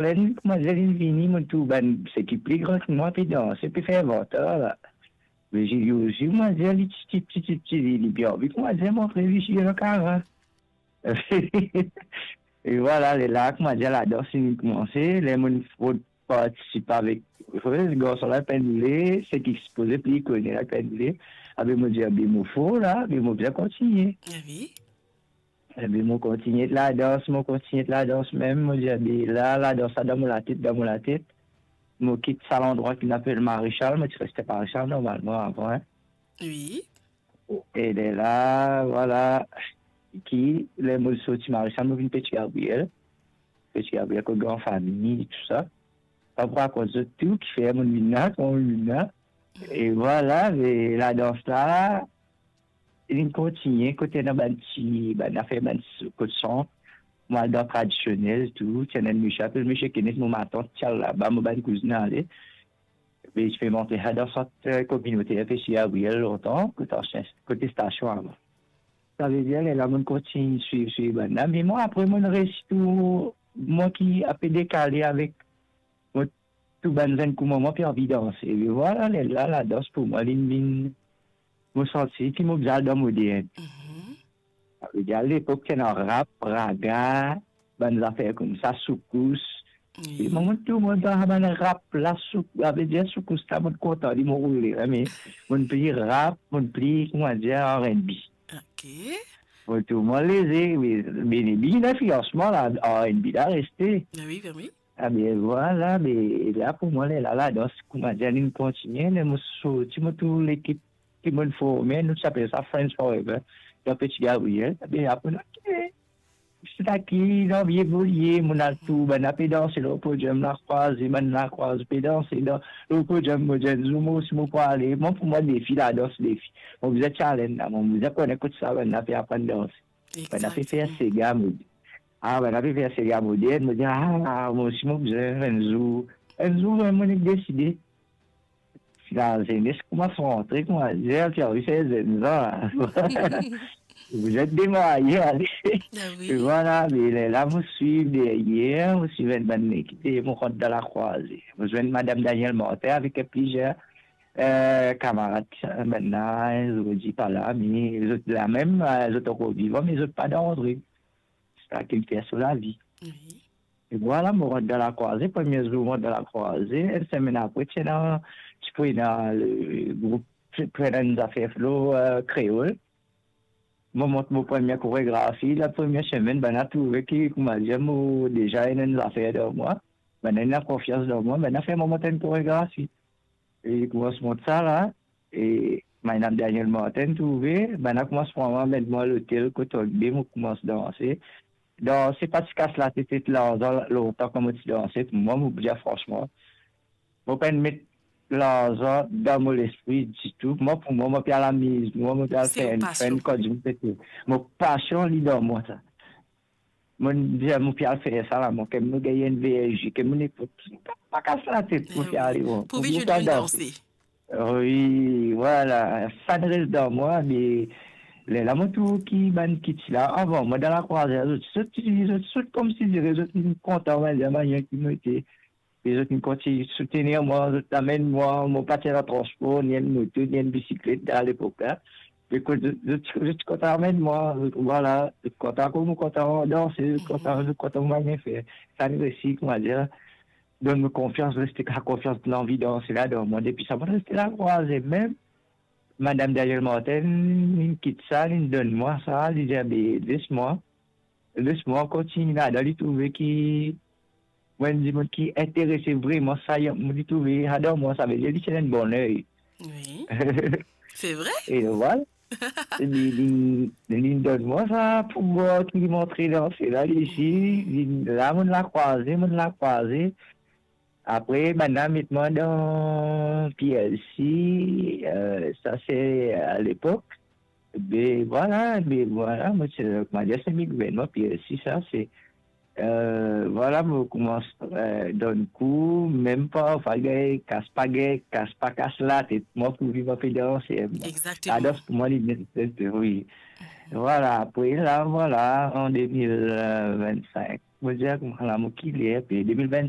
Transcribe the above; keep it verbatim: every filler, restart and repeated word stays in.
Ler li, koumadir, li vini, mo trouv bann seki pli gran ki mwa pe danse, pe fer vantar la. Me Zili osi, koumadir, li ti, ti, ti, ti, ti, li, li bien anvi, koumadir, montre li si li ena karan. E vwala, lerla, koumadir, ladans inn koumanse, ler mo'nn finn partisip avek, garson la pa'nn le, seki sipoze pli kone la pa'nn le, abe mo dir, abe mo for la, abe mo bizin kontigne. Ah wi. Epi mo kontigne ladans, mo kontigne ladans mem, mo dir, "Be la, ladans la dan mo latet, dan mo latet." Mo kit sa landrwa ki apel Marechal, mo ti reste Marechal normalman avan, hein. Wi. E de la, vwala, ki, ler mo sorti Marechal, mo vinn Petit Gabriel. Petit Gabriel, kot gran fami, tou sa. Pa pou rakont zot tou, kifer mo vinn la, kouma mo vinn la. E vwala, me ladans la, li kontigne, kot ena bann ti, bann zafer, bann s-, kot san, mo al dan tradisionel tou, ti ena enn misie apel misie Kenneth, mo matant ti al laba, mo bann kouzin ale. Be ti pe montre sa dan sant, eh, kominoter Petit Gabriel lontan, kot ansien, kot stasion avan. Savedir, lerla mo'nn kontign swiv, swiv bann la, me mwa apre mo'nn resi tou, mwa ki ape dekale avek mo, tou bann zenn kouma mwa pe anvi danse. E vwala, lerla, ladans pou mwa, li vinn, mo santi ki mo bizin al dan modern. Mhm. Savedir, lepok ti ena rap, raga, bann zafer koumsa, soukous. Wi. E mwa, mo'nn tou, mo'nn dan bann rap la, souk-, savedir, soukous la, mo'nn kontan li, mo roule, me mo'nn pli rap, mo'nn pli, koumadir, R and B. Ok. Mo'nn tou, mo'nn leze, wi, be, be, li ena linflians mwa la, R and B la reste. Ah wi, wi, wi. Ah be vwala, be la pou mwa, lerla, ladans, koumadir, linn kontigne, ler mo sorti, mo trouv lekip ki mo'nn forme, nou ti apel sa Friends Forever, dan Petit Gabriel. Be apre, ok, seki ena anvi evolie, mo'nn al tou, bann la pe danse lor podium Lakrwaze, bann Lakrwaze pe danse dan, lor podium, mo dir, enn zour mwa osi mo pou ale. Mwa, pou mwa, defi, ladans, defi. Mo bizin challenge la, mo bizin kone kot sa bann la pe aprann danse. Bann la pe fer sega, mo dir. Ah, bann la pe fer sega modern, mo dir, ah, mwa osi mo bizin enn zour. Enn zour, vremem, mo nek deside. Lazenes koumans rantre, koumadir, ti anvi fer zenn zan la. Vous êtes démarré, ale. Ah wi. E vwala, me lerla mo swiv deryer, mo swiv enn bann lekip, mo rant dan Lakrwaze. Mo zwenn Madam Daniel Martin avek plizier, eh, kamarad, bann la, zot pa la, me zot la mem, eh, zot ankor vivan, me zot pa dan Andre. Sa ki fer so lavi. Wi. E vwala, mo rant dan Lakrwaze, premie zour mo rant dan Lakrwaze, enn semenn apre, ti ena, ti pou ena le group, ti pou ena enn zafer flo, eh, kreol. Mo mont mo premie koregrafi, la premie semenn, bann la trouve ki, koumadir, mo deza ena enn zafer dan mwa, bann la ena konfians dan mwa, bann la fer mwa mont enn koregrafi. E li koumans mont sa la, e Madam Daniel Martin trouve, bann la koumans pran mwa, met mwa lotel kot Andre, mo koumans danse. Danse pa ti kas latet, larzan lontan kan mo ti danse, pou mwa, mo pou dir fransman, mo pa'nn met larzan dan mo lespri ditou. Mwa, pou mwa, mo pe al amiz mwa, mo pe al fer enn fen, kan dimoun pete. Mo pasion li dan mwa sa. Mo dir, mo pe al fer sa la, mo, ke mo gagn enn V R G, ke mo nepot, pa, pa kas latet, mo pe ale, bon. Pou viv enn danse. Wi, vwala, sa res dan mwa, me lerla mo trouv ki bann ki ti la avan mwa dan Lakrwaze, zot, zot, zot, zot koumsi dire, zot inn kontan, mo dir, manier ki mo ete. E zot inn kontign soutenir mwa, zot amenn mwa, mo pa ti ena transpor, ni enn moto, ni enn bisiklet a lepok la. Me kot zot, zot, zot kontan amenn mwa, zot, vwala, zot kontan kouma mo kontan danse, zot kontan, zot kontan mo manier fer. Sa inn resi, koumadir, donn mo konfians, reste sa konfians, lanvi danse la dan mwa. Depi sa, mo reste Lakrwaze mem. Madam Daniel Martin, linn kit sa, linn donn mwa sa, li dir, "Be, les mwa, les mwa kontign ladan." Li trouve ki mo enn dimoun ki interese vreman sa, li trouve ladan mwa, savedir li ti ena enn bon ley. Wi. Se vre? E vwala. Li, li, linn donn mwa sa pouvwar ki mo antre dan sela, li isi, li, la mo'nn Lakrwaze, mo'nn Lakrwaze. Apre, bann la met mwa dan P L C, eh, sa se a lepok. Be vwala, be vwala, mo ti, koumadir, semi gouvernman, P L C, sa se, eh, vwala, mo koumans, eh, donn kou, mem parfwa gagn kas, pa gagn kas, pa kas latet mwa pou viv, mo pe danse. Exactement. Ladans pou mwa, li, wi. Vwala, apre la, vwala, an de mil vennsenk, mo dir, kouma la, mo kile, apre de mil vennsenk,